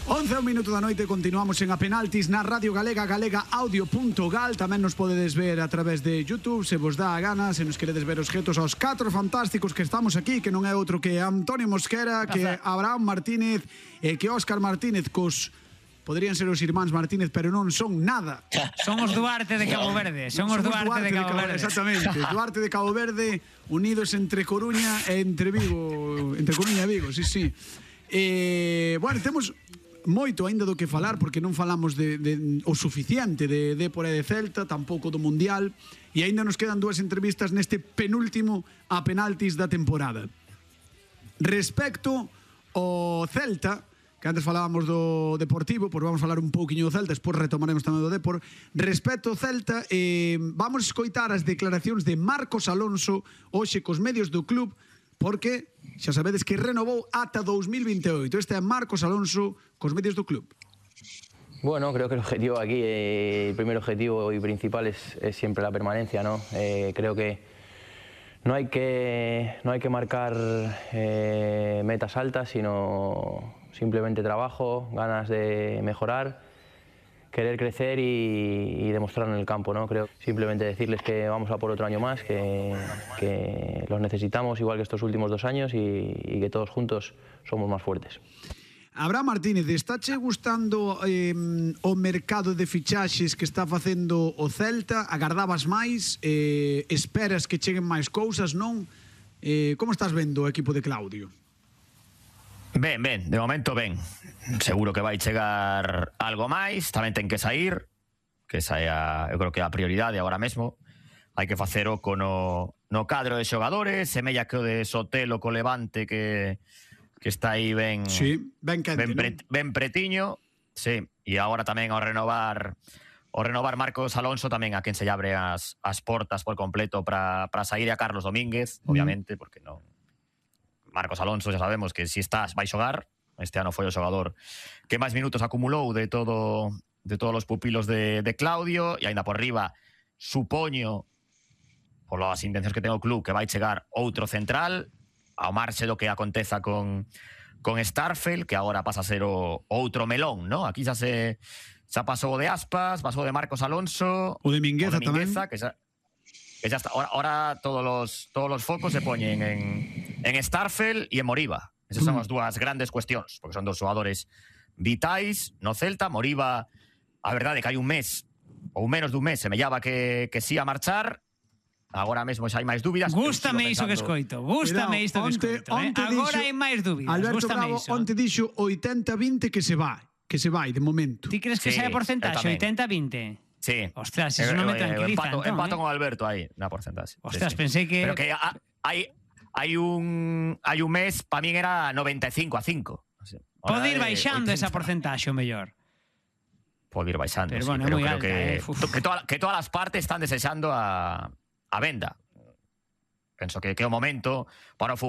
11 minuto da noite, continuamos en A Penaltis na Radio Galega, galegaaudio.gal. Tamén nos podedes ver a través de YouTube, se vos dá a gana, se nos queredes ver os jetos aos 4 fantásticos que estamos aquí, que non é outro que Antonio Mosquera, que Abraham Martínez e que Óscar Martínez, cos poderían ser os irmáns Martínez, pero non son nada. Son os Duarte de Cabo Verde. Son os Duarte de Cabo Verde. Exactamente. Duarte de Cabo Verde, unidos entre Coruña e entre Vigo. Entre Coruña e Vigo, sí, sí. Bueno, temos moito aínda do que falar, porque non falamos o suficiente de Dépor e de Celta, tampouco do Mundial, e aínda nos quedan 2 entrevistas neste penúltimo A Penaltis da temporada. Respecto ao Celta, que antes falábamos do Deportivo, pois vamos falar un pouquiño do Celta, despois retomaremos tamén do Dépor. Respecto ao Celta, vamos escoitar as declaracións de Marcos Alonso hoxe cos medios do club, porque xa sabedes que renovou ata 2028. Este é Marcos Alonso cos medios do club. Bueno, creo que el objetivo aquí, el primer objetivo y principal es siempre la permanencia, ¿no? Creo que no hay que marcar metas altas, sino simplemente trabajo, ganas de mejorar, querer crecer y demostrar en el campo, ¿no? Creo simplemente decirles que vamos a por otro año más, que los necesitamos igual que estos últimos 2 años y que todos juntos somos más fuertes. Abraham Martínez, estáche gustando o mercado de fichaxes que está facendo o Celta? Agardabas máis? Esperas que cheguen máis cousas, non? Como estás vendo o equipo de Claudio? Ben, de momento ben. Seguro que vai chegar algo máis, tamén ten que sair, que esa é eu creo que a prioridade agora mesmo. Hai que facer oco no cadro de xogadores, semella que o de Sotelo co Levante que está aí ben, sí, ben pretiño, sí, e agora tamén ao renovar Marcos Alonso, tamén a quen se lle abre as portas por completo para sair a Carlos Domínguez, obviamente, porque non. Marcos Alonso, xa sabemos que si estás vai xogar. Este ano foi o xogador que máis minutos acumulou de todos os pupilos de Claudio, e aínda por riba supoño, polas intencións que ten o club, que vai chegar outro central, ao marxe do que aconteza con Starfel, que agora pasa a ser o outro melón, ¿no? Aquí xa pasou o de Aspas, pasou o de Marcos Alonso, o de Mingueza tamén, que xa está. Ahora todos los focos se poñen en Starfel e en Moriba. Esas son as dúas grandes cuestións, porque son 2 xogadores vitais no Celta. Moriba, a verdade é que hai un mes, ou menos dun mes, semellaba que sí a marchar. Agora mesmo xa hai máis dúbidas. Gústame iso que escoito. Gústame isto que escoito. Agora hai máis dúbidas. Alberto Bravo onte dixo 80-20 que se vai de momento. Ti crees que sea porcentaxe 80-20? Sí. Ostras, eso non me tranquiliza. Empato con Alberto aí na porcentaxe. Ostras, pensei que... Pero que hai un mes, para min era 95-5. Pode ir baixando esa porcentaxe o mellor. Pode ir baixando, pero bueno, pero creo alta, que todas as partes están desexando a venda. Penso que é o momento para o fútbol